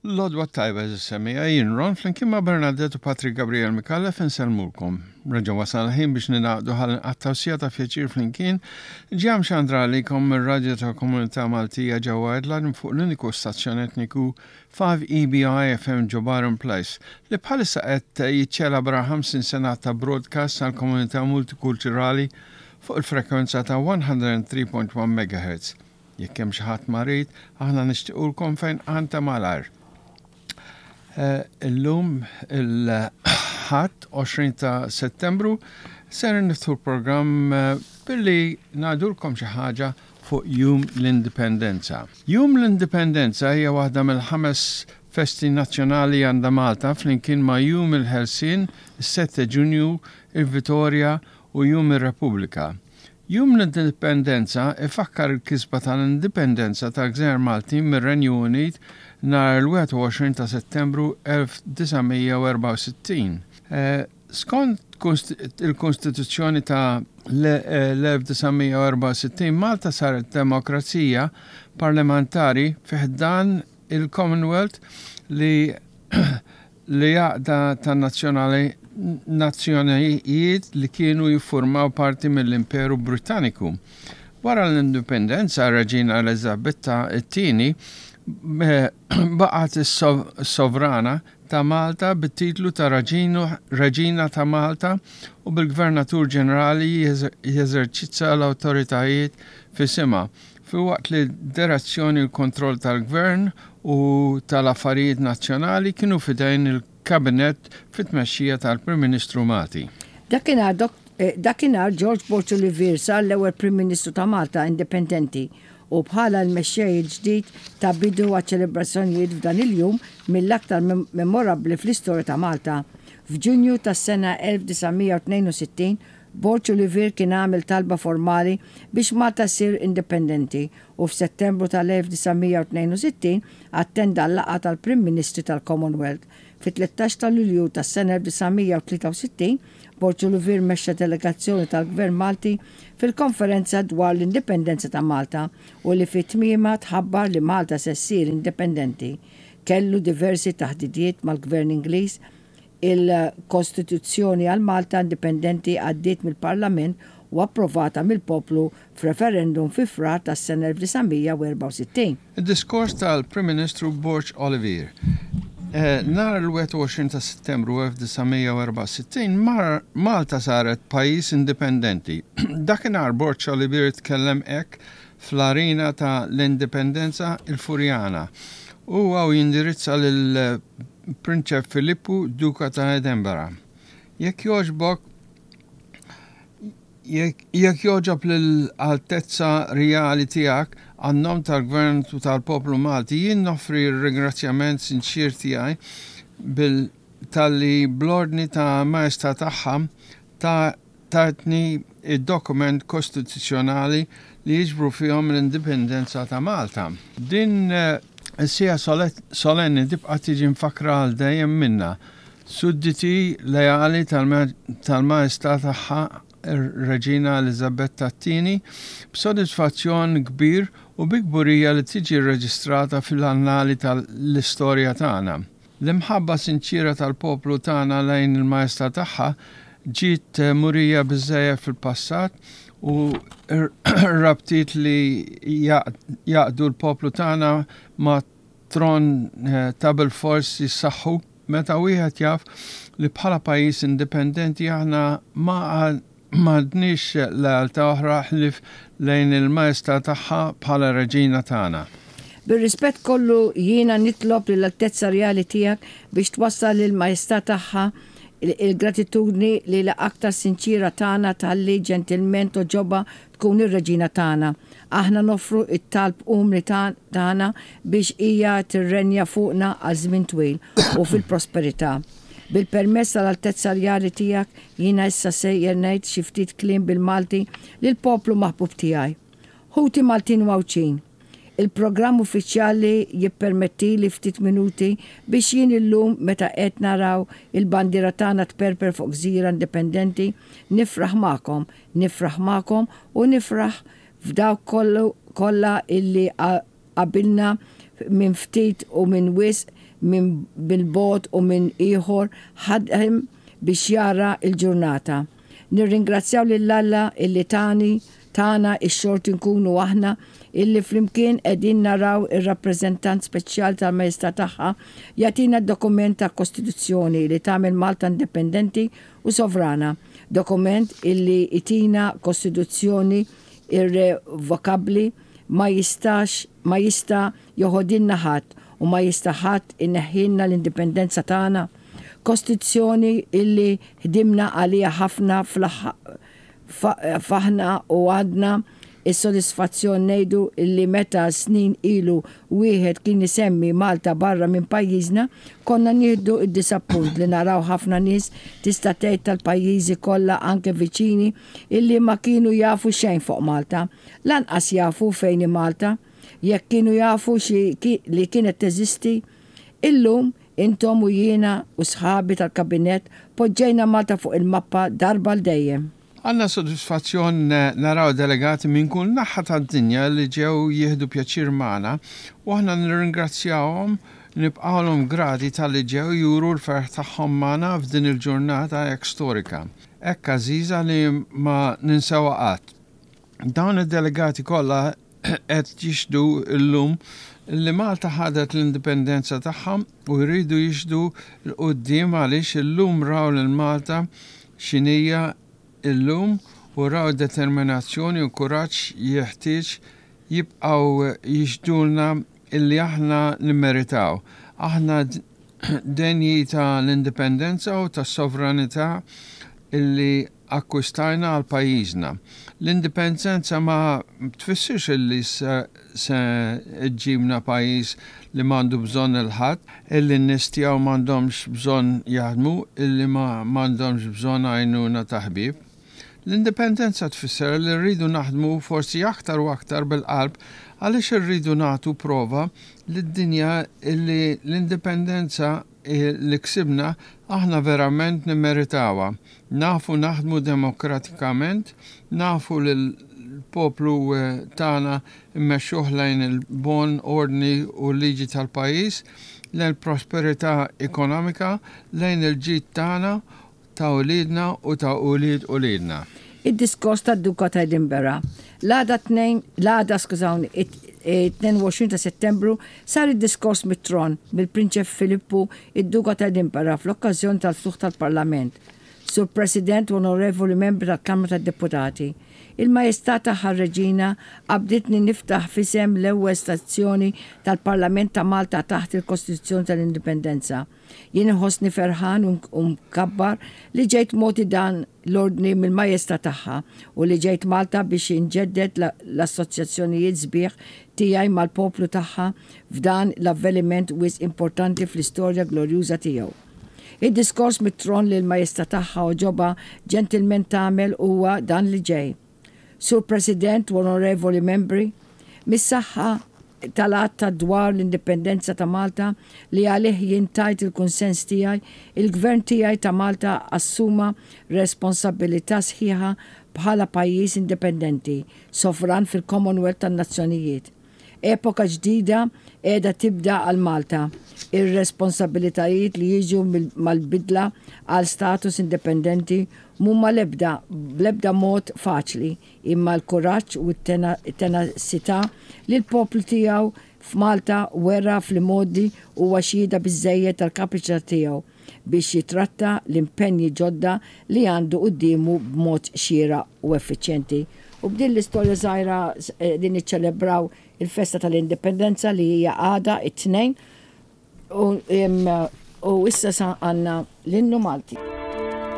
L-għodwa t-tajba għeżież semmiegħa, jien Ron flimkien ma' Bernadette u Patrick Gabriel Micallef insellmulkom. Reġa' wasal il-ħin biex ningħaqdu ħalli nqattgħu siegħa ta' pjaċir flimkien, ġew mxandra għalikom mir-radju tal-Komunità Maltija ġewwa Adelaide minn fuq l-uniku stazzjon etniku 5EBI FM ġo Byron Place li bħalissa qed jiċċelebra 50 sena ta' broadcast għall-komunità multikulturali fuq il-frekwenza ta' 103.1 MHz. Jekk hemm xi ħadd marid, aħna nixtiqulkom fejn ta' malajr. Eh, illum il-Ħadd 20 ta' Settembru ser niftħu l-programm eh, billi ngħidulkom xi ħaġa fuq Jum l-Indipendenza. Jum l-Indipendenza hija waħda mill-ħames festi nazzjonali għandha Malta flimkien ma' Jum il-Ħelsien, is-7 Ġunju, il-Vitorja u Jum ir-Repubblika. Jum l-Indipendenza ifakkar il-kisba tal-Indipendenza tal-Gżejjer Maltin mir-Renju Unit nhar il-21 ta' Settembru 1964. Skont il-Kostituzzjoni ta' l-1964, Malta saret demokrazija parlamentari fi ħdan il-Commonwealth li li għaqda ta' nazzjonali nazzjonijiet li kienu jiffurmaw parti mill-Imperu Brittaniku. Wara l-indipendenza, r-Reġina Eliżabetta t-Tieni baqgħet is-sovrana ta' Malta bit-titlu ta' Reġina ta' Malta u bil-Gvernatur Ġenerali jeżerċizza l-awtoritajiet f'isimha, filwaqt li d-direzzjoni u l-kontroll tal-Gvern u tal-affarijiet nazzjonali kienu f'idejn il-Kabinett fit-tmexxija tal-Prim Ministru Malti. Dakinhar Dakinhar George Borg Olivier sar l-ewwel Prim Ministru ta' Malta indipendenti u bħala l-mexxej il-ġdid ta bidu għaċ-ċelebrazzjonijiet f'dan il-jum mill-aktar memorabbli fl-istorja ta' Malta. F'Ġunju tas-sena 1962, Borg Olivier kien għamel talba formali biex Malta ssir indipendenti u f'Settembru tal-1962 attenda l-laqgħa tal-Prim Ministri tal-Commonwealth. Fit-13 ta' Lulju tas-sena 1963, Borg Olivier mexxa delegazzjoni tal-Gvern Malti fil-Konferenza dwar l-Indipendenza ta' Malta u li fi tmiemha tħabbar li Malta se ssir indipendenti. Kellu diversi taħdidiet mal-Gvern Ingliż Il-Kostituzzjoni għal Malta indipendenti għaddiet mill-Parlament u approvata mill-poplu f'referendum fi Frar tas-sena 1964. Id-diskors tal-Prim Ministru Borg Olivier Nhar il-21 ta' Settembru 1964 Malta saret pajjiż indipendenti. Dakinhar Borg Olivier tkellem hekk fl-arena ta' l-Indipendenza il-Furjana. Huwa u jindirizza lil Prinċep Filippu, Duka ta' Edinburgh. Jekk jogħġbok, jekk jogħġob lill-Altezza Rjali Tiegħek, għan-nom tal-Gvern u tal-poplu Malti, jien noffri r-ringrazzjament sinċier tiegħi bil talli bl-ordni ta' Maestà Tagħha ta' tatni d-dokument kostituzzjonali li jiġbru fihom l-indipendenza ta' Malta. Din is-siegħa solenni tibqa' tiġi mfakkra għal dejjem minna, sudditi leali tal-Maestà Tagħha r-Reġina Eliżabetta t-Tieni, b'sodisfazzjon kbir u bi kburija li tiġi rreġistrata fil-annali tal-istorja tagħna. L-imħabba sinċiera tal-poplu tagħna lejn il-Maestà Tagħha ġiet murija biżżejjed fil-passat u r-rabtiet li jgħaqqdu l-poplu tagħna mat-tron ta' bilfors jissaħħu meta wieħed jaf li bħala pajjiż indipendenti aħna ma M'għandniex lealtà oħra ħlief lejn il-Maestà Tagħha bħala Reġina tagħna. Bir-rispett kollu jiena nitlob lill-Altezza Rjali Tiegħek biex twassal lill-Maestà Tagħha l-gratitudni li l-aktar sinċiera tagħna talli ġentilment togħġobha tkun ir-Reġina tagħna. Aħna noffru t-talb umli tagħna biex hija tirrenja fuqna għal żmien twil u fil-prosperità. Bil-permess tal-Altezza Rjali Tiegħek, jiena issa sejjer ngħid xi ftit kliem bil-Malti lill-poplu maħbub tiegħi. Ħuti Maltin u Għawdxin, il-programm uffiċjali jippermettili ftit minuti biex jien illum meta qed naraw il-bandiera tagħna tperper fuq gżira indipendenti, nifraħ magħkom, nifraħ magħkom u nifraħ f'dawk kollha illi qabilna min ftit u min wisq, min bil-bogħod u min ieħor ħadem biex jara l-ġurnata. Nirringrazzjaw lil Alla illi tani, tana x-xorti nkunu aħna illi flimkien qegħdin naraw ir-Rappreżentant Speċjali tal-Majestà Tagħha jagħtina d-dokument ta' Kostituzzjoni li tagħmel Malta indipendenti u sovrana, dokument illi jtina Kostituzzjoni irrevokabbli ma jistax ma jista' joħodilna ħadd u ma jista' ħadd ineħħilna l-indipendenza tagħna. Kostituzzjoni illi ħdimna għaliha ħafna fl-aħna u għandna s-sodisfazzjon ngħidu illi meta snin ilu wieħed kien isemmi Malta barra minn pajjiżna konna nieħdu d-disappunt li naraw ħafna nies tista' tgħid tal-pajjiżi kollha anke viċini illi ma kienu jafu xejn fuq Malta. Lanqas jafu fejn hi Malta. Jekk kienu jafu xi li kienet teżisti. Illum Intom u jiena u sħabi tal-Kabinett poġġejna Malta fuq il-mappa darba għal dejjem. Għandna sodisfazzjon naraw delegati minn kull naħa tad-dinja li ġew jieħdu pjaċir magħna u aħna nirringrazzjahom, nibqgħulhom grati talli ġew juru l-ferħ tagħhom magħna f'din il-ġurnata hekk storika, hekk għażiża li ma ninsewha qatt. Dawn id-delegati kollha qed jixhdu llum li Malta ħadet l-indipendenza tagħha u jridu jixhdu 'l quddiem għaliex illum raw lil Malta x'inhija llum u raw d-determinazzjoni u kuraġġ jeħtieġ jibqgħu jixhdulna illi aħna nimmeritaw. Aħna denji ta' l-indipendenza u tas-sovranità illi akkwistajna għal pajjiżna. L-indipendenza ma tfissirx illi se ġġibna pajjiż li m'għandu bżonn 'il ħadd, illi n-nies tiegħu m'għandhomx bżonn jaħdmu, illi ma m'għandhomx bżonn għajnuna ta' ħbieb. L-indipendenza tfisser li rridu naħdmu forsi aktar u aktar bil-qalb għaliex irridu nagħtu prova lid-dinja illi l-indipendenza li ksibna aħna verament nimmeritawha. Nafu naħdmu demokratikament, nafu lill-poplu tagħna mmexxuh lejn il-bon ordni u l-liġi tal-pajjiż, lejn prosperità ekonomika, lejn il-ġid tagħna, ta' uliedna u ta' ulied uliedna. Id-diskors tad-Duka ta' Edinburgh. L-għada tnejn, l-għada, skużawni, it-22 ta' Settembru sar id-diskors mit-tron mill-Prinċep Filippu, id-Duka ta' Edinburgh fl-okkażjoni tal-ftuħ tal-Parlament. Sur President u Onorevoli Membri tal-Kamra tad-Deputati, il-Majestà Tagħha r-Reġina qabditni niftaħ f'isem l-ewwel stazzjoni tal-Parlament ta' Malta taħt il-Kostituzzjoni tal-Indipendenza. Jien inħossni ferħan u mkabbar li ġejt mogħti dan l-ordni mill-Majestà Tagħha u li ġejt Malta biex inġedded l-assoċjazzjonijiet sbieħ tiegħi mal-poplu tagħha f'dan l-avveniment wisq importanti fl-istorja glorjuża tiegħu. Id-diskors mit-tron li l-Majestà Tagħha għoġobha ġentilment tagħmel huwa dan li ġej. Sur President u Onorevoli Membri, mis-saħħa tal-Att ta' dwar l-Indipendenza ta' Malta li għalih jien tajt il-kunsens tiegħi, il-Gvern tiegħi ta' Malta assuma responsabbilità sħiħa bħala pajjiż indipendenti, sovran fil-Commonwealth tan-Nazzjonijiet. Epoka ġdida qiegħda tibda għal Malta. Ir-responsabbilitajiet li jiġu mal-bidla għal status indipendenti m'huma l-ebda bl-ebda mod faċli, imma l-kuraġġ u t-tenacità li l-poplu tiegħu f'Malta wera fl-imgħoddi huwa xhieda biżżejjed tal-kapaċità tiegħu biex jittratta l-impenji ġodda li għandu quddiemu b'mod xieraq u effiċjenti. U b'din l-istorja żgħira qegħdin niċċelebraw il-festa tal-Indipendenza li hija għada it-Tnejn u issa sa għandna l-innu Malti.